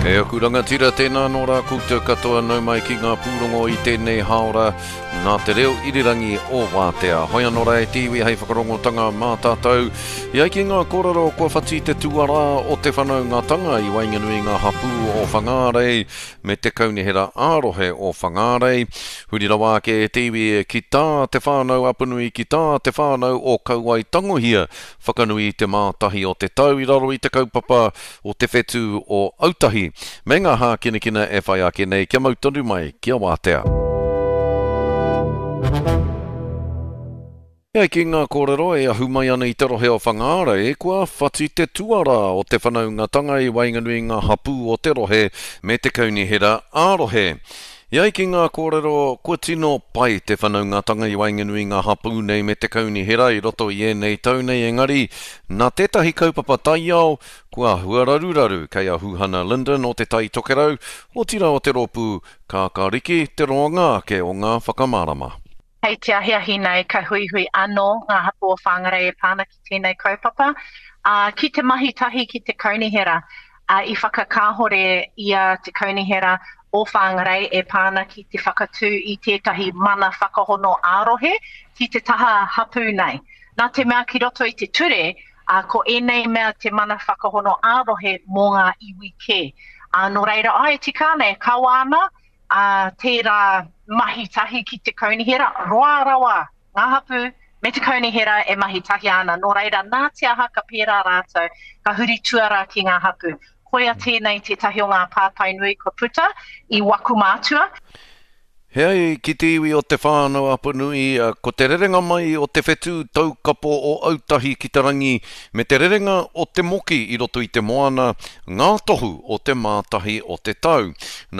E aku rangatira, tēnā nō rā koutou katoa nau mai ki ngā pūrongo i tēnei hāora nā te reo irirangi o Wātea. Hoi anō rā e te iwi hei whakarongotanga mā tātou. E ai ki ngā kōrero kua whati te tuarā o te whanaungatanga i waenganui i ngā hapū o Whangārei me te Kaunihera ā-rohe o Whangārei. Huri rawa ake e te iwi ki tā Te Whānau Apanui ki tā Te Whānau o Kauae Tangohia whakanui i te mātahi o te tau i raro i te kaupapa o Te Whetū o Autahi me ngā hākinakina e whai ake nei kia mau tonu mai ki a Wātea. E ai ki ngā kōrero e ahu mai ana i te rohe o Whangārei, kua whati te tuarā o te whanaungatanga i waenganui i ngā hapū o te rohe me te kaunihera ā-rohe. E ai ki ngā kōrero, kua tino pai te whanaungatanga i waenganui i ngā hapū nei me te kaunihera i roto i ēnei tau nei engari, nā tētahi kaupapa taiao, kua āhua raruraru kei a Huhana Lyndon o Te Tai Tokerau, otirā o te rōpū Kākāriki te roanga ake o ngā whakamārama. Hei te ahiahi nei ka huihui anō ngā hapū o Whangarei e pā ana ki tēnei kaupapa, ā, ki te mahi tahi ki te kaunihera. Ā, i whakakāhore i a te kaunihera o Whangarei e pā ana ki te whakatū i tētahi mana whakahono ā-rohe ki te taha hapū nei. Nā te mea ki roto i te ture, ā, ko ēnei mea te mana whakahono ā-rohe mō ngā iwi kē. Ā, nō reira, āe, tika ana, e kawa ana, ā, tērā mahi tahi ki te kaunihera, roa rawa ngā hapū me te kaunihera e mahi tahi ana, nō reira, nā te aha ka pērā rātou, ka huri tuarā ki ngā hapū. Koia tēnei tētahi o ngā pātai nui kua puta i waku mātua. He ai ki te iwi o Te Whānau-a-Apanui, ko te rerenga mai o te whetū taukapo o Autahi ki te rangi me te rerenga o te moki i roto i te moana ngā tohu o te mātahi o te tau. Nā.